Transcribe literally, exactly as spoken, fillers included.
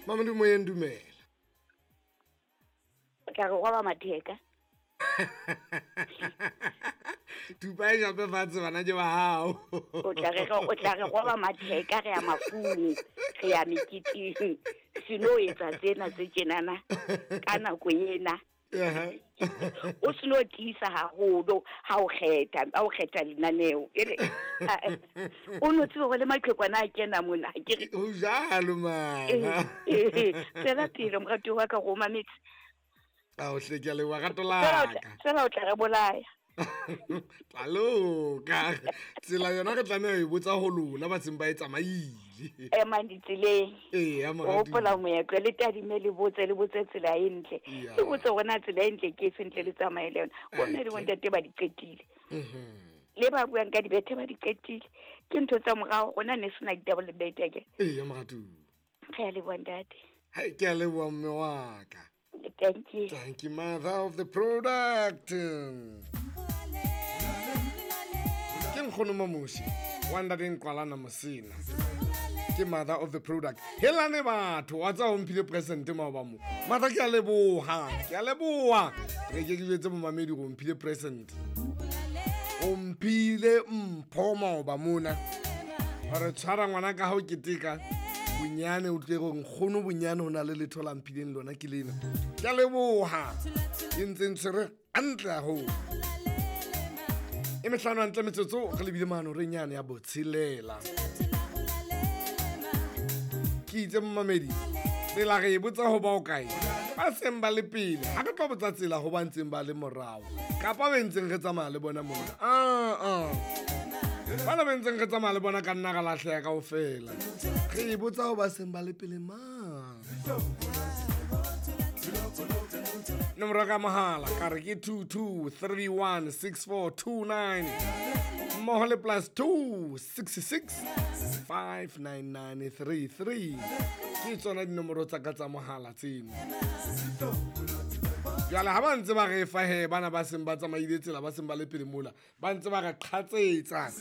Mamedi moyeng, dumela. O tla re roba matheka. Thupa e jape fatshe bana ke ba hao. O tla re o tla re roba matheka, re ya mafung, re ya meketeng. Seno etsa tsena tse tjenana ka nako ena. O seno tiisa haholo ha o kgetha, ha o kgetha lenaneo. Ere o no tsebe hore le maqhekwana a kena mona, ha ke re Ho jwalo mana. Tswela pele moratuwa wa ka, re o mametse. Ao hle, ke a leboha rato Fela o la tla ka. fela o tla re bolaya. Tla loka. Tsela yona re tlameha ho e botsa ho lona ba seng ba e tsamaile. Emang ditseleng. Eya O moratuwa. hopola moetlo, le tadime, le botse, le botse tsela e ntle. Ya. Le botse hore na tsela e ntle ke efe ntle le tsamaye le yona. Bo mme le Okay. bontate ba di qetile. Mhm. Le ba buang ka dibethe ba di qetile. Ke ntho tsa morao, rona ne sena ditaba le bethe akere. Eya moratuwa. Re a leboha ntate. Hai, ke a leboha mme wa ka. Thank you. Thank you, mother of the product. Ke nkgono Mamoshi wa ntate Nkwalana Mosina. Ke mother of the product. Helane batho, wa tseba o mphile present maoba mo. Mother, ke a leboha, ke a leboha. Re ke ke jwetse momamedi hore o mphile present. O mphile mpho maoba mona. Hore tshwara ngwana ka hao keteka. Bonyane o tle gore nkgono bonyane ho na le letho la mphileng lona ke lena. Ke a leboha. E ntse ntshwere hantle haholo. E mehlano hantle metsotso re lebile mano re nyane ya botshelela. Ke itse momamedi, tsela re e botsa ho ba o kae? Ba seng ba le pele, ha re tlo botsa tsela ho ba ntseng ba le morao. Kapa be ntseng re tsamaya le bona mona. Ah ah. Bana be ntseng re tsamaya le bona ka nna ra lahleha kaofela. Re e botsa ho ba seng ba le pele mang. Nomoro ka mohala ka re ke two two three one six four two nine mmoho le plus two six six five nine nine three three. Ke tsona dinomoro tsa ka tsa mohala tseno. Jwale ha ba ntse ba re fa he bana ba seng ba tsamaile tsela ba seng ba le pele mola, ba ntse ba re qhatsetsa.